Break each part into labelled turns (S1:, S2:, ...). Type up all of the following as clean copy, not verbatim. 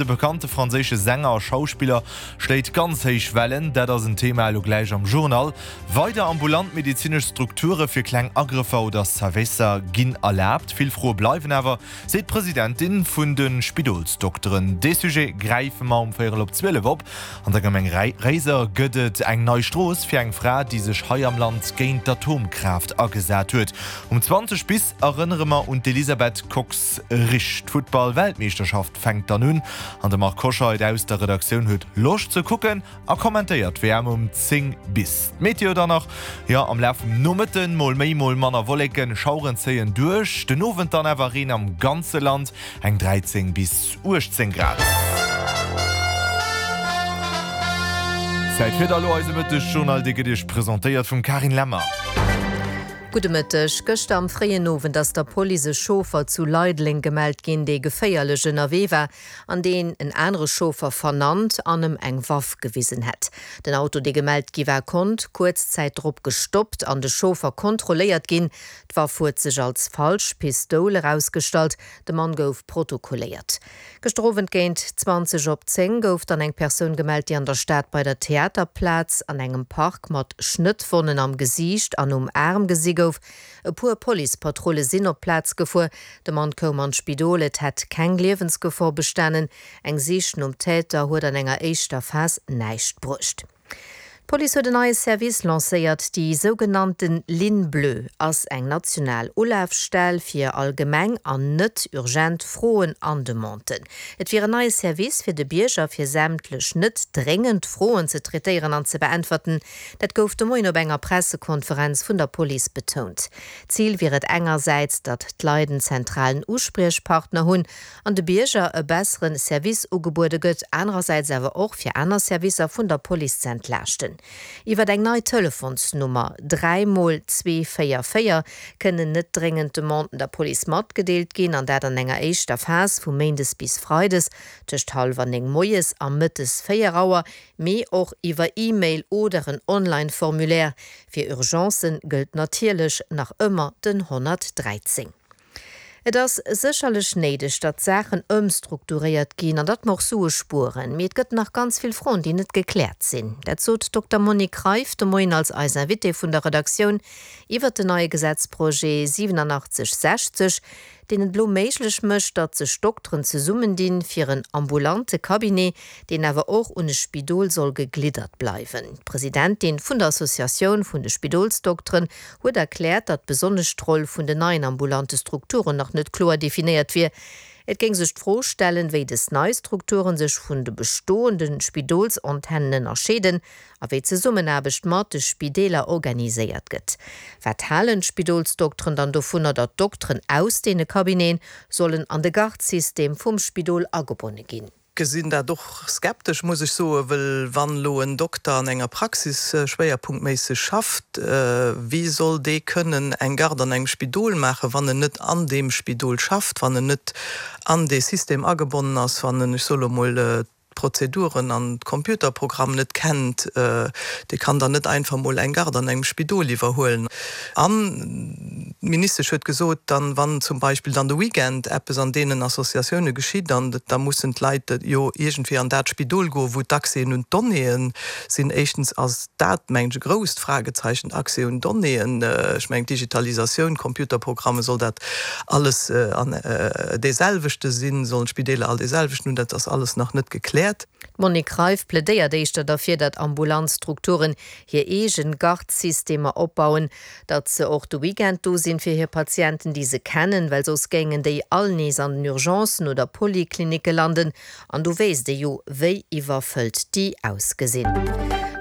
S1: De bekannte franséische Sänger a Schauspiller schléit ganz héich Wellen, dat ass en Thema elo gläich am Journal. Weider ambulant medezinesch Strukture fir kleng Agrëffer oder Servicer ginn erlaabt. Vill Froe bleiwen awer, seet d'Presidentin vun de Spidolsdokteren. Dee Sujet gräife mer um véierel op 12 op. An der Gemeng Réiser gëtt et eng nei Strooss fir eng Fra, déi sech hei am Land géint d'Atomkraaft agesat huet. Um 20 bis erënnere mer un d'Elisabeth Kox-Risch. D'Futtball-Weltmeeschterschaft fänkt dann un an de Marc Hoscheid aus der Redaktioun huet Loscht ze kucken a kommentéiert d'WM um 10 bis. D'Meteo dann nach, jo am Laf vum Nomëtten mol méi mol manner Wolleken, Schaueren zéien duerch, den Owend dann awer Reen am ganze Land, eng 13 bis 18 Grad. Zäit fir da lo eise Mëttesjournal, dee gëtt Iech presentéiert vum Karin Lemmer.
S2: Gudde Mëtteg. Gëschter am fréien Owend ass der Police e Chauffer zu Leideleng gemellt ginn, dee geféierlech ënnerwee war an deen en anere Chauffer vernannt an em eng Waff gewisen hätt. Den Auto, dee gemellt gi war, konnt kuerz Zäit drop gestoppt an de Chauffer kontrolléiert ginn. D'Waff huet sech als falsch Pistoul erausgestallt. De Mann gouf protokolléiert. Gëschter Owend géint 20 op 10 gouf dann eng Persoun gemellt, déi an der Stad bei der Theaterplaz an engem Park mat Schnëttwonnen am Gesiicht an um Aarm gesi gouf. E puer Policepatrulle sinn op d'Plaz gefuer. De Mann koum an d'Spidol, et hätt keng Liewensgefor bestanen. Eng Sich nom Täter huet an enger éischter Phas näischt bruecht. D'Police huet en neie Service lancéiert. Déi sougenannte Ligne bleue ass eng national Ulafstell fir allgemeng an net urgent Froen an Demanden. Et wier en neie Service fir de Bierger, fir sämtlech net dréngend Froen ze traitéieren an ze beäntwerten. Dat gouf de Moien op enger Pressekonferenz vun der Police betount. Zil wier et engersäits, datt d'Leit en zentralen Uspriechpartner hunn an de Bierger e bessere Service ugebuede gëtt, anerersäits awer och fir aner Servicer vun der Police ze entlaaschten. Iwwer eng nei Telefonsnummer, 3 mol 2 4 4, kënnen net dréngend Demanden der Police matgedeelt ginn, an dat an enger éischter Phas vu méindes bis freides tëscht hallwer 9 moies a mëttes 4 Auer, mee och iwwer E-Mail oder en Online-Formulaire. Fir Urgencen gëllt natierlech nach ëmmer den 113. Et ass sécherlech néideg, datt Saachen ëmstrukturéiert ginn an datt mer och Sue spueren. Mee et gëtt nach ganz vill Froen, déi net gekläert sinn. Dat sot d'Dokter Monique Reiff de Moien als eis Invitée vun der Redaktioun iwwert den neie Gesetzprojet 8760, deen et elo méiglech mécht, datt sech Dokteren zesummendinn, fir en ambulante Cabinet, deen awer och un e Spidol soll gegliddert bleiwen. D'Presidentin vun der Associatioun vun de Spidolsdokteren huet erkläert, datt besonnesch d'Roll vun den neien ambulante Strukturen nach net kloer definéiert wier. Et géing sech d'Fro stellen, wéi des nei Strukturen sech vun de bestoende Spidolsantennen ënnerscheeden a wéi d'Zesummenaarbecht mat de Spideeler organiséiert gëtt. Wat halen d'Spidolsdokteren dann dovunner, datt Dokteren aus deene Cabineten sollen an de Garde-System vum Spidol agebonne ginn?
S3: Gesinn dat och skeptesch, muss ech soen, wëll wann elo en Dokter an enger Praxis schwéierpunktméisseg schafft, wéi soll dee kënnen eng Garde an engem Spidol maachen, wann en net an deem Spidol schafft, wann en net an dee System agebonnen ass, wann en, ech soe lo mol, d'Prozeduren an d'Computerprogramm net kennt? Dee kann dann net einfach mol eng Garde an engem Spidol iwwerhuelen. An d'Ministesch huet gesot, dann, wann zum Beispill dann de Weekend eppes an deenen Associatioune geschitt, an da mussen d'Leit jo iergendwéi an dat Spidol goen, wou d'Accèsen un d'Donnéeë sinn. Éischtens ass dat, mengen ech, e grousst Fragezeichen, Accès un Donnéeën. Ech mengen, d'Digitalisatioun, Computerprogramme, soll dat alles an deeselwechte sinn? Sollen d'Spideeler all deeselwechten hunn? Dat ass alles nach net gekläert.
S2: D'Monique Reiff plädéiert éischter derfir, datt ambulant Strukturen hir eegen Gardsystemer opbauen, datt se och de Weekend do sinn fir hir Patienten, déi se kennen, well soss géingen déi all nees an den Urgencen oder Poliklinicke landen, an do wéisst ee jo, wéi iwwerfëllt déi ausgesinn.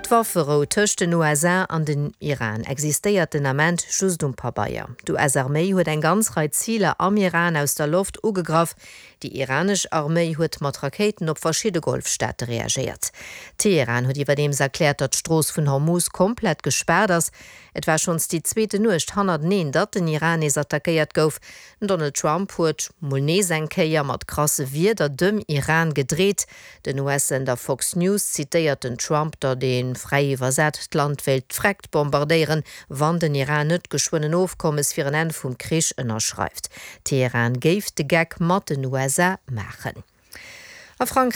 S2: D'Wafferou tëscht den USA an den Iran existéiert den Ament just um Pabeier. D'US-Arméi huet eng ganz Rei Ziler am Iran aus der Loft ugegraff, Déi iranesch Arméi huet mat Rakéiten op verschidde Golfstaate reagéiert. Teheran huet iwwerdeems erkläert, datt d'Strooss vun Hormuz komplett gespaart ass. Et war schonns déi zweete Nuecht hannerteneen, datt den Iran nees attackéiert gouf. Den Donald Trump huet mol nees eng Kéier mat krasse Wierder dem Iran gedreet. Den US-Sender Fox News zitéiert den Trump, datt ee fräi iwwersat d'Land wéilt d'Vreckt bombardéieren, wann den Iran net geschwënn en Ofkommes fir en Enn vum Krich ënnerschreift. Teheran géif de Geck mat den USA maachen. A Frankräich.